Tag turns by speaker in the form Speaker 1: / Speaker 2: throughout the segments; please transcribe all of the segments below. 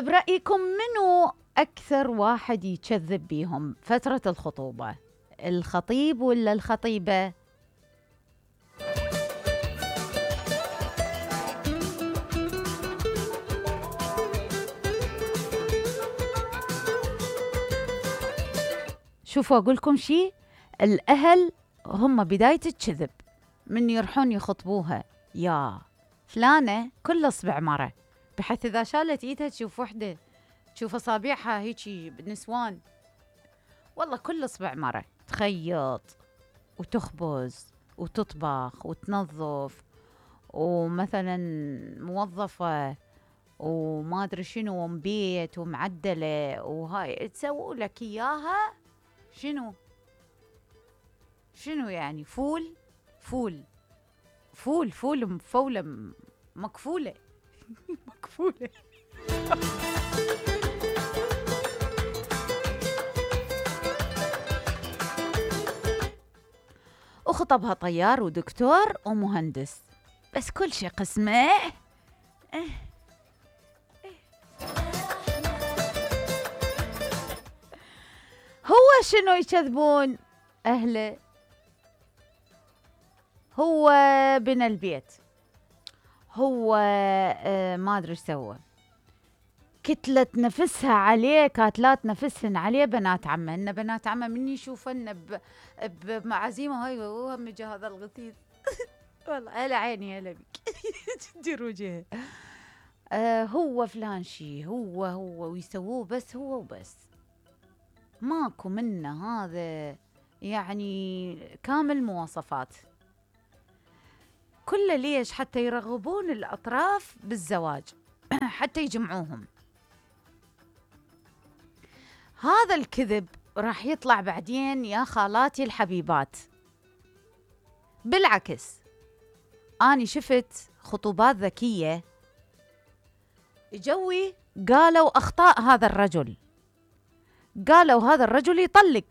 Speaker 1: برأيكم منو أكثر واحد يكذب بيهم فترة الخطوبة؟ الخطيب ولا الخطيبة؟ شوفوا أقول لكم شيء، الأهل هم بداية الكذب. من يروحون يخطبوها يا فلانة كل أصبع مرة، بحيث إذا شالت إيدها تشوف وحدة، تشوف أصابعها هيجي بالنسوان، والله كل أصبع مرة تخيط وتخبز وتطبخ وتنظف، ومثلا موظفة وما أدري شنو ومبيت ومعدلة، وهاي تسووا لك إياها شنو يعني فول مفولة مكفولة مكفولة. وخطبها طيار ودكتور ومهندس، بس كل شيء قسمه. هو شنو يكذبون أهله؟ هو بنى البيت، هو ما أدري ايش سوى، كتلت نفسها عليه، كاتلات نفسهن عليه بنات عمه. إن بنات عمه من يشوفن بمعازيمه هاي وهم جا هذا الغثيث والله هلا عيني هلا بك تدير وجهه. هو فلان شي، هو ويسووه بس هو وبس، ماكو منه هذا يعني كامل مواصفات. كله ليش؟ حتى يرغبون الأطراف بالزواج حتى يجمعوهم. هذا الكذب راح يطلع بعدين يا خالاتي الحبيبات. بالعكس أنا شفت خطوبات ذكية جوي قالوا أخطاء هذا الرجل، قالوا هذا الرجل يطلق،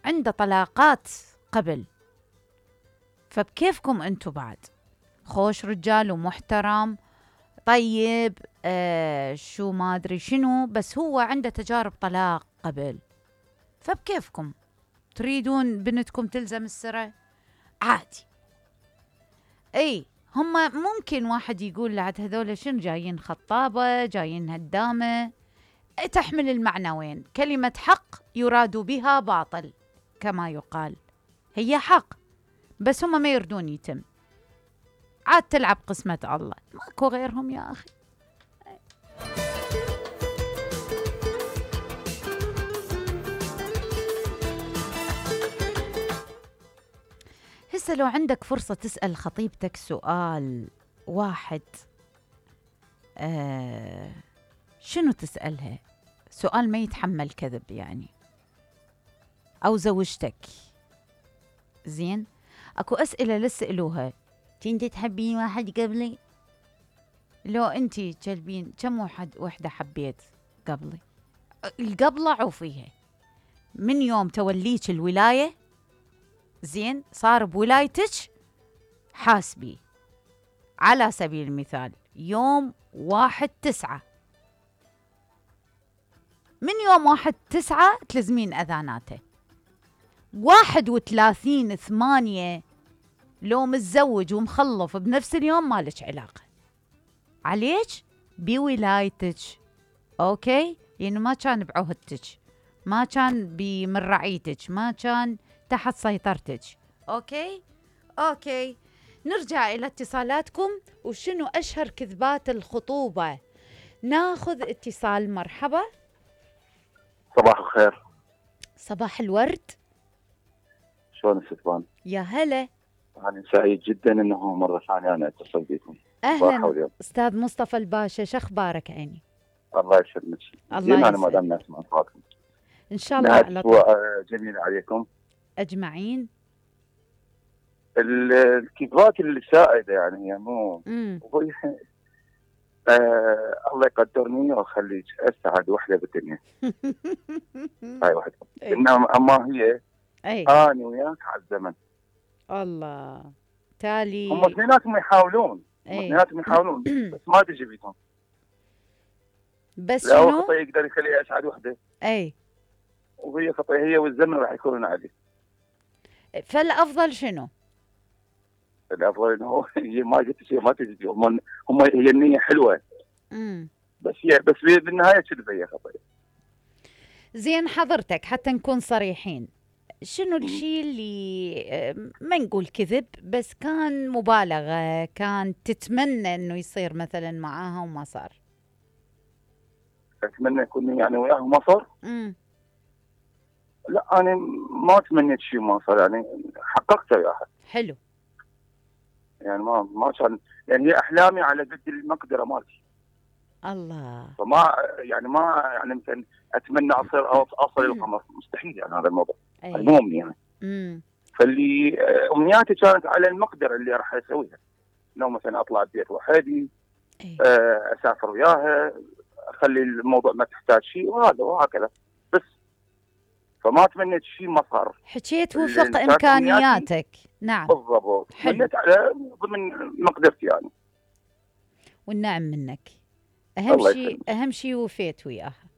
Speaker 1: عنده طلاقات قبل، فبكيفكم أنتوا بعد خوش رجال ومحترم طيب شو ما أدري شنو، بس هو عنده تجارب طلاق قبل، فبكيفكم تريدون بنتكم تلزم السرة عادي. اي هم ممكن واحد يقول لعد هذول شنو جايين خطابة جايين هدامة، تحمل المعنوين، كلمة حق يراد بها باطل كما يقال، هي حق بس هم ما يردون يتم، عاد تلعب قسمة الله، ماكو غيرهم يا أخي. هسه لو عندك فرصة تسأل خطيبتك سؤال واحد، شنو تسألها؟ سؤال ما يتحمل كذب يعني، أو زوجتك زين، أكو أسئلة لسألوها، تنتي تحبين واحد قبلي؟ لو أنتي تشلبين كم وحدة حبيت قبلي؟ القبلة عوفيها من يوم توليك الولاية زين صار بولايتك حاسبي. على سبيل المثال يوم 1/9، من يوم 1/9 تلزمين أذاناته. 31/8 لو متزوج ومخلف بنفس اليوم مالك علاقة، عليك بولايتك، أوكي؟ يعني ما كان بعهدتك، ما كان من رعيتك، ما كان تحت سيطرتك، أوكي. نرجع إلى اتصالاتكم، وشنو أشهر كذبات الخطوبة. ناخذ اتصال. مرحبا.
Speaker 2: صباح الخير.
Speaker 1: صباح الورد.
Speaker 2: شلون ستوان؟
Speaker 1: يا هلا.
Speaker 2: أنا سعيد جدا أنه مرة ثانية أنا أتصل بكم.
Speaker 1: أهلا أستاذ مصطفى الباشا، شو أخبارك عيني؟
Speaker 2: الله يسلمك.
Speaker 1: الله
Speaker 2: أنا ما دام نسمع صوتكم
Speaker 1: إن شاء الله
Speaker 2: على طول. جميل عليكم
Speaker 1: أجمعين.
Speaker 2: الكذبات اللي سائدة يعني هي مو الله يقدرني ويخليك أسعد وحدة بالدنيا. هاي وحدة. إنما أما هي أنا وياك على الزمن.
Speaker 1: الله تالي
Speaker 2: هم اثنيناتهم يحاولون بس ما تجي بيتهم.
Speaker 1: بس
Speaker 2: لا هو
Speaker 1: شنو؟
Speaker 2: خطأ يقدر يخليه اسعد وحده.
Speaker 1: اي.
Speaker 2: وهي خطأ هي والزمن راح يكونون عليه.
Speaker 1: فالافضل شنو؟
Speaker 2: الافضل انه هي ما قلت شيء، ما تجي هم هي النيه حلوه. بس بالنهايه كذبه هي خطأ.
Speaker 1: زين حضرتك حتى نكون صريحين، شنو الشيء اللي ما نقول كذب بس كان مبالغة، كان تتمنى انه يصير مثلا معاها وما صار؟
Speaker 2: اتمنى يكون يعني وياها وما صار؟ لا انا ما تمنيت شيء ما صار، يعني حققته وياها.
Speaker 1: حلو.
Speaker 2: يعني ما كان، يعني هي احلامي على قد المقدره مالتي.
Speaker 1: الله.
Speaker 2: فما يعني ما يعني مثلا اتمنى اصل القمر، مستحيل يعني هذا الموضوع. مو امنيه يعني. فاللي امنياتي كانت على المقدره اللي راح اسويها. لو مثلا اطلع البيت وحدي، اسافر وياها، اخلي الموضوع ما تحتاج شيء وهكذا بس. فما تمنيت شيء ما صار.
Speaker 1: حكيت وفق امكانياتك. نعم
Speaker 2: بالضبط. تمنيت على ضمن مقدرتي يعني.
Speaker 1: والنعم منك. اهم شيء وفيت وياها.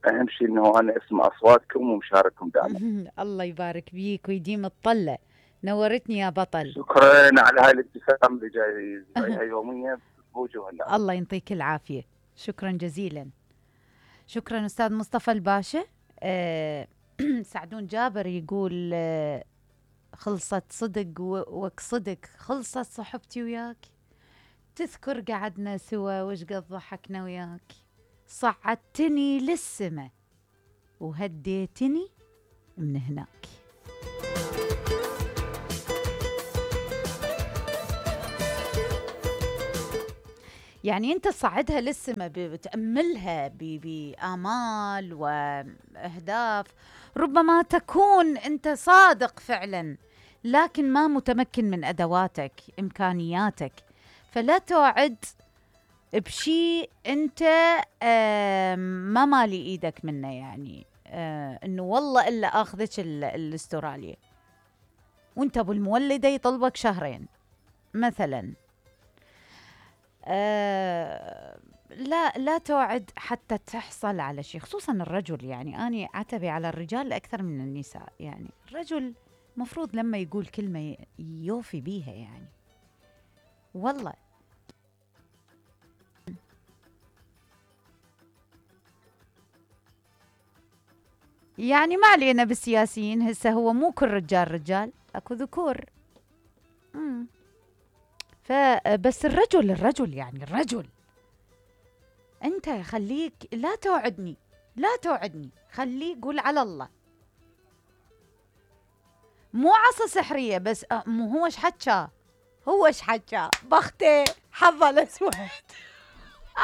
Speaker 2: اهم شيء انه انا اسمع اصواتكم ومشارككم دائما.
Speaker 1: الله يبارك بيك ويديم الطله. نورتني يا بطل.
Speaker 2: شكرا على هاي الابتسامه اللي جايها يوميا بوجوهنا.
Speaker 1: الله يعطيك العافيه. شكرا جزيلا. شكرا استاذ مصطفى الباشا. سعدون جابر يقول خلصت صدق صدق خلصت صحبتي وياك، تذكر قعدنا سوا وش قد ضحكنا وياك، صعدتني للسما وهديتني من هناك. يعني انت تصعدها للسما، بتأملها بآمال وأهداف، ربما تكون انت صادق فعلا لكن ما متمكن من أدواتك إمكانياتك، فلا توعد بشيء انت ما مالي ايدك منه، يعني انه والله الا اخذك الاستراليا وانت ابو المولده يطلبك شهرين مثلا. لا توعد حتى تحصل على شيء، خصوصا الرجل. يعني أنا عتبي على الرجال أكثر من النساء. يعني الرجل مفروض لما يقول كلمة يوفي بيها، يعني والله. يعني ما علينا بالسياسيين، هسه هو مو كل رجال، اكو ذكور. فبس الرجل يعني الرجل انت خليك لا توعدني خليك قول على الله. مو عصا سحرية بس مو هو ايش حكى بختي حظ الاسود